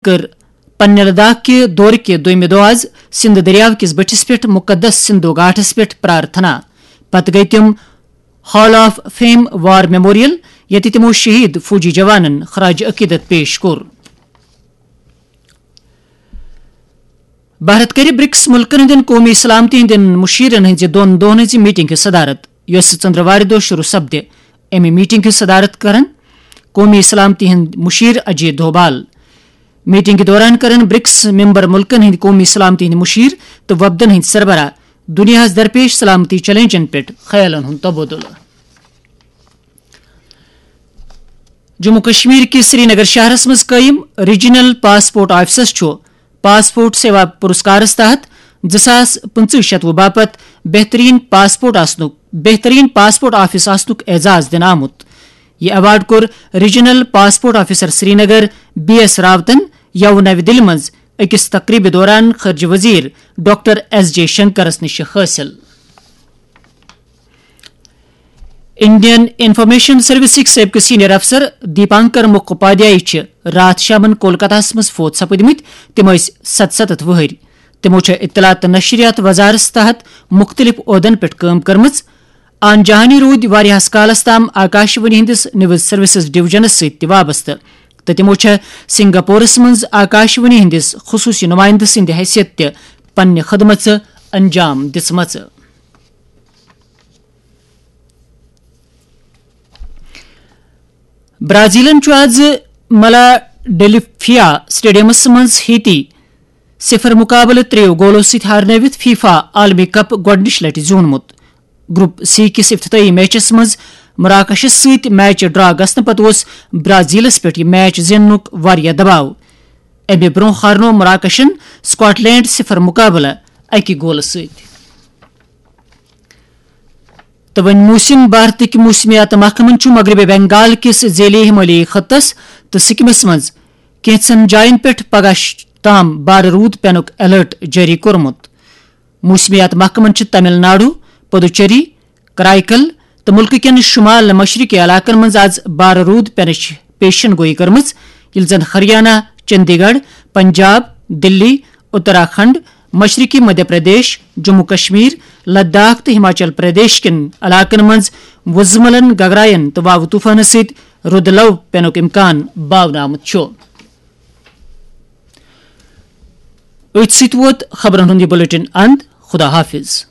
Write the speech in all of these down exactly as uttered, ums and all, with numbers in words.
کٔر پننہِ لداخ کہِ دورٕ کہِ دوٚیمہِ دۄہ آز سِنٛدھ دٔریاو کِس بٔٹھِس پٮ۪ٹھ مُقدس سِنٛدھو گھاٹَس پٮ۪ٹھ پرارتھنا۔ پتہٕ گٔیہِ تِم Hall of Fame War Memorial، ییٚتہِ تِمو شہید فوجی جوانن خراج عقیدت پیش کوٚر۔ بھارت کَرِ برکس مُلکَن ہٕنٛدٮ۪ن قومی سلامتی ہٕنٛدٮ۪ن مُشیرن ہٕنٛزِ دۄن دۄہَن ہٕنٛزِ میٹنگ ہٕنٛز صدارت، یۄس ژٔنٛدٕروارِ دۄہ شروع سپدِ۔ اَمہِ میٹنگ ہٕنٛز صدارت کرن قومی سلامتی ہٕنٛدۍ مُشیر اجے دوبال۔ میٹنگ دوران کرن برکس ممبر مُلکَن ہٕنٛدۍ قومی سلامتی ہٕنٛدۍ مُشیر تہٕ وفدن ہٕنٛدۍ سربراہ دُنیاہَس درپیش سلامتی چیلنجن پٮ۪ٹھ خیالن ہُنٛد تبادلہٕ۔ جموں کشمیر کِس سرینگر شہرس منٛز قٲیِم ریجنل پاسپورٹ آفسس چھُ پاسپورٹ سیوا پُرسکارس تحت زٕ ساس پٕنٛژٕہ شتوُہ باپتھ بہترین پاسپورٹ آسنُک، بہترین پاسپورٹ آفس آسنُک اعزاز دِنہٕ آمُت۔ یہِ ایوارڈ کوٚر regional passport officer Srinagar B S راوتن یوٕ نوِ دِلہِ منٛز أکِس تقریبہِ دوران خارجہ وزیر ڈاکٹر ایس جے شنکرس نِش حٲصِل۔ انڈین انفارمیشن سروسٕکۍ سٲبقہٕ سینئر افسر دیپانکر مکھوپادھیائے چھِ راتھ شامن کولکتہس منٛز فوت سپٕدمٕتۍ۔ تِم ٲسۍ ستستتھ وُہٕرۍ۔ تِمو چھےٚ اطلاعات تہٕ نشریات وزارتس تحت مُختٔلِف عہدن پٮ۪ٹھ کٲم کٔرمٕژ۔ آن جہانی روٗدۍ واریاہس کالس تام آکاشوانی ہٕنٛدِس نیوز سروسز ڈویژنس سۭتۍ تہِ وابستہٕ، تہٕ تِمو چھےٚ سنگاپورس منٛز آکاشوانی ہٕنٛدِس خصوٗصی نُمٲیندٕ سٕنٛدِ حیثیت تہِ پننہِ خدمژٕ انجام دِژمژٕ۔ برازیلن چھُ آز ملا ڈیلفیا سٹیڈیمس منٛز ہیتی صفر مقابلہٕ ترٛیٚیو گولو سۭتۍ ہارنٲوِتھ فیفا عالمی کپ گۄڈٕنِچ لٹہِ زیوٗنمُت۔ گروپ سی کِس افتتاحی میچس منٛز مراکشس سۭتۍ میچ ڈرا گژھنہٕ پتہٕ اوس برازیلس پٮ۪ٹھ یہِ میچ زیننُک واریاہ دباو۔ اَمہِ برٛونٛہہ ہارنوو مراکشن سکاٹ لینڈ صفر مقابلہٕ اَکہِ گولہٕ سۭتۍ۔ تہٕ وۄنۍ موسم۔ بھارتٕکۍ موسمیات محکمن چھُ مغربی بنگال کِس ذیلی ہمالیائی خطس تہٕ سکمس منٛز کینٛژن جاین پٮ۪ٹھ پگاہ ش-، تام بارٕ روٗد پینُک الرٹ جٲری کوٚرمُت۔ موسمیات محکمن چھِ تمل ناڈو، پدوچیری، کرائیکل تہٕ مُلکہٕ کٮ۪ن شمال مشرقی علاقن منٛز آز بارٕ روٗد پینٕچ پیشن گویی کٔرمٕژ، ییٚلہِ زن ہریانہ، چندی گڑھ، پنجاب، دلی، اتراکھنڈ، مشرقی مدھیہ پردیش، جموں کشمیر، لداخ تہٕ ہماچل پردیش کٮ۪ن علاقن منٛز وُزملن، گگراین تہٕ واوٕ طوفانہٕ سۭتۍ رُدٕ لو پینُک امکان باونہٕ آمُت چھُ۔ أتھۍ سۭتۍ ووت خبرن ہُنٛد یہِ بلیٹن اند۔ خدا حافظ۔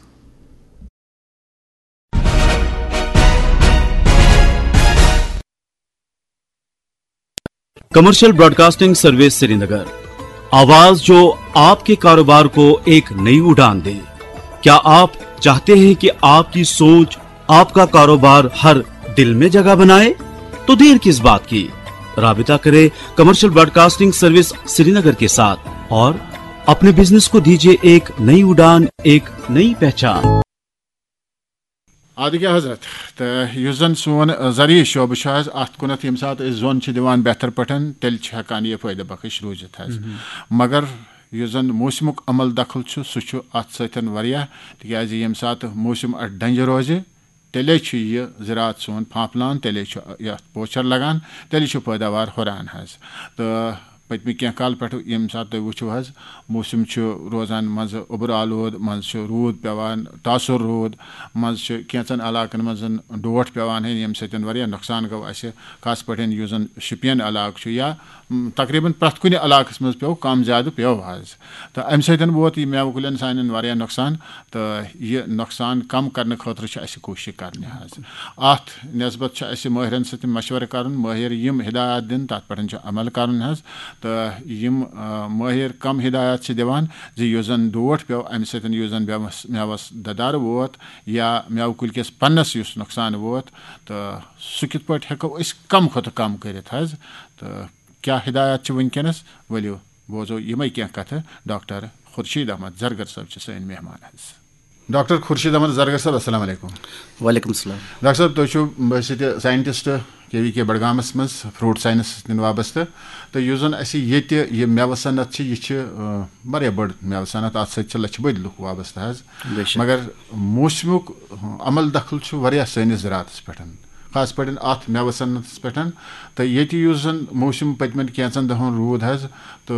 کمرشل براڈکاسٹنگ سروس سرینگر، آواز جو آپ کے کاروبار کو ایک نئی اڑان دے۔ کیا آپ چاہتے ہیں کہ آپ کی سوچ، آپ کا کاروبار ہر دل میں جگہ بنائے؟ تو دیر کس بات کی؟ رابطہ کرے کمرشل براڈکاسٹنگ سروس سرینگر کے ساتھ اور اپنے بزنس کو دیجیے ایک نئی اڑان، ایک نئی پہچان۔ آدگہ حضرت، تہٕ یُس زن سون، آ، زرعی شعبہٕ چھُ حظ، اتھ کُنتھ ییٚمہِ ساتہٕ أسۍ زوٚن چھِ دِوان بہتر پٲٹھۍ، تیٚلہِ چھِ ہٮ۪کان یہِ فٲیدٕ بخش روٗزِتھ حظ۔ مگر یُس زن موسمُک عمل دخل چھُ، سُہ چھُ اتھ سۭتۍ واریاہ، تِکیازِ ییٚمہِ ساتہٕ موسم اتھ ڈنجہِ روزِ، تیٚلے چھُ یہِ زراعت سون پھانپھلان، تیٚلے چھُ یتھ پوچھر لگان، تیٚلے چھُ پٲداوار ہُران حظ۔ تہٕ پٔتمہِ کینٛہہ کال پٮ۪ٹھ ییٚمہِ ساتہٕ تُہۍ وٕچھِو حظ، موسم چھُ روزان منٛزٕ اوٚبرٕ آلود، منٛزٕ چھُ روٗد پٮ۪وان، تاثر روٗد، منٛزٕ چھُ کینٛژن علاقن منٛز ڈوٹھ پٮ۪وان، ییٚمہِ سۭتۍ واریاہ نۄقصان گوٚو اَسہِ، خاص پٲٹھۍ یُس زن شُپین علاقہٕ چھُ یا، م، تقریباً پرٛٮ۪تھ کُنہِ علاقس منٛز پیوٚو، کم زیادٕ پیوٚو حظ۔ تہٕ اَمہِ سۭتۍ ووت یہِ مٮ۪وٕ کُلٮ۪ن سانٮ۪ن واریاہ نۄقصان، تہٕ یہِ نۄقصان کم کرنہٕ خٲطرٕ چھِ اَسہِ کوٗشِش کرنہِ حظ۔ اَتھ نسبت چھُ اَسہِ مٲہرن سۭتۍ مشورٕ کرُن، مٲہر یِم ہدایات دِن، تَتھ پٮ۪ٹھ چھُ عمل کرُن حظ۔ تہٕ یِم، آ، مٲہر کم ہدایات چھِ دِوان زِ یُس زن ڈوٹھ پیوٚو، اَمہِ سۭتۍ یُس زن مٮ۪وس، مٮ۪وس دَدَر ووت یا مٮ۪وٕ کُلۍ کِس پنَس یُس نۄقصان ووت، تہٕ سُہ کِتھ پٲٹھۍ ہٮ۪کو أسۍ کم کھۄتہٕ کم کٔرِتھ حظ؟ تہٕ کیٛاہ ہدایات چھِ وٕنکیٚنَس؟ ؤلِو بوزو یِمَے کینٛہہ کَتھٕ۔ ڈاکٹر خورشید احمد زرگر صٲب چھِ سٲنۍ مہمان حظ۔ ڈاکٹر خورشید احمد زرگر صٲب، السلام علیکم۔ وعلیکم السلام۔ ڈاکٹر صٲب، تُہۍ چھِو بحیثیت scientist کے وی کے بڈگامَس منٛز فروٹ ساینس سۭتۍ وابستہٕ، تہٕ یُس زَن اَسہِ ییٚتہِ یہِ مٮ۪وٕ صنعت چھِ، یہِ چھِ، آ، واریاہ بٔڑ مٮ۪وٕ صنعت، اَتھ سۭتۍ چھِ لَچھِ بٔدۍ لُکھ وابستہٕ حظ۔ بے شک۔ مگر موسمُک عمل دخل چھُ واریاہ سٲنِس زراعتَس پٮ۪ٹھ۔ خاص پٲٹھۍ اَتھ مٮ۪وٕ صنعتَس پٮ۪ٹھ۔ تہٕ ییٚتہِ یُس زَن موسم پٔتمٮ۪ن کینٛژَن دۄہَن روٗد حظ، تہٕ